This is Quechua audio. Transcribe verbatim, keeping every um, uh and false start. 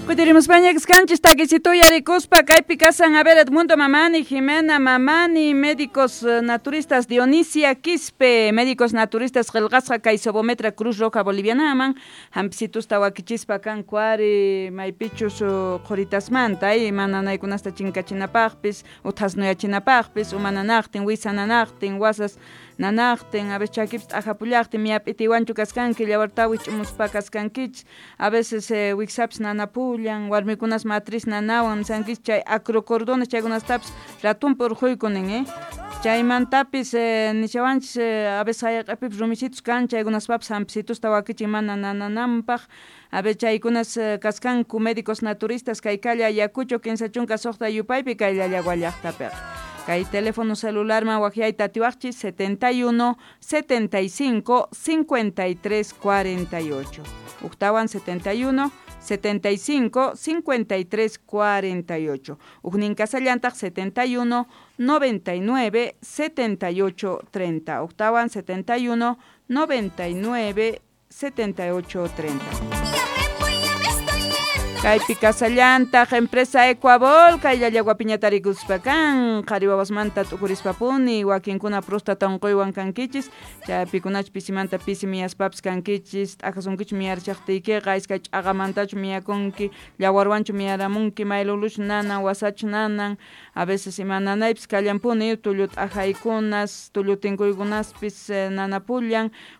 Kutirimuspaña kaskanchis takisito yarikuspa kaypi kasan a ver Edmundo Mamani, Jimena Mamani, médicos naturistas Dionisia Quispe, médicos naturistas qillqasqa kay Sobometra Cruz Roja Bolivianaman, hampisitusta wakichispa kanku ari maypichus qhuritasmanta ay mananaykunasta chinkachinapaqpis uthasnuyachinapaqpis umananaqtin wisananaqtin wasas nanaqtin a veces chakipis t'ajapullaqtin miyap'itiwanchu kaskanki llawartawi ch'umuspa kaskankichis a veces eh, wiksapis nanapullan warmikunas matriz nanawan nisankichis chay acrocordones chaykunastapis ratunpi urquykunin eh chaymantapis eh, nishawanchis eh, a veces hayaq'apipis rumisitus kan chaykunaspapis hampisitusta wakichin mana nanananpaq a ver chaykunas eh, kaskanku médicos naturistas kay calle Ayacucho kinsa chunka suqta yupaypi kay Llallagua llaqtapiqa kay teléfono celularman waqyayta atiwaqchis setenta y uno, setenta y cinco, cincuenta y tres, cuarenta y ocho. Uktawan setenta y uno, setenta y cinco, cincuenta y tres, cuarenta y ocho. Ujnin kasallantaq setenta y uno, noventa y nueve, setenta y ocho, treinta. Octawan setenta y uno, noventa y nueve, setenta y ocho, treinta. Kaypi kasallantaq empresa Ecuabol kay Llallagua piñatarikuspa kan qhari wawasmanta t'ukurispapuni wakinkuna próstata unquywan kankichis chaypikunach pisimanta pisi miyaspapis kankichis t'ajasunkichu miyarchaqtiykiqa iskay ch'aqamantachu miyakunki llawarwanchu miyaramunki mayluluchu nanan wasachu nanan a veces ima nanaypis kallanpuni tullu t'ajaykunas tullu tinkuykunaspis nanapullan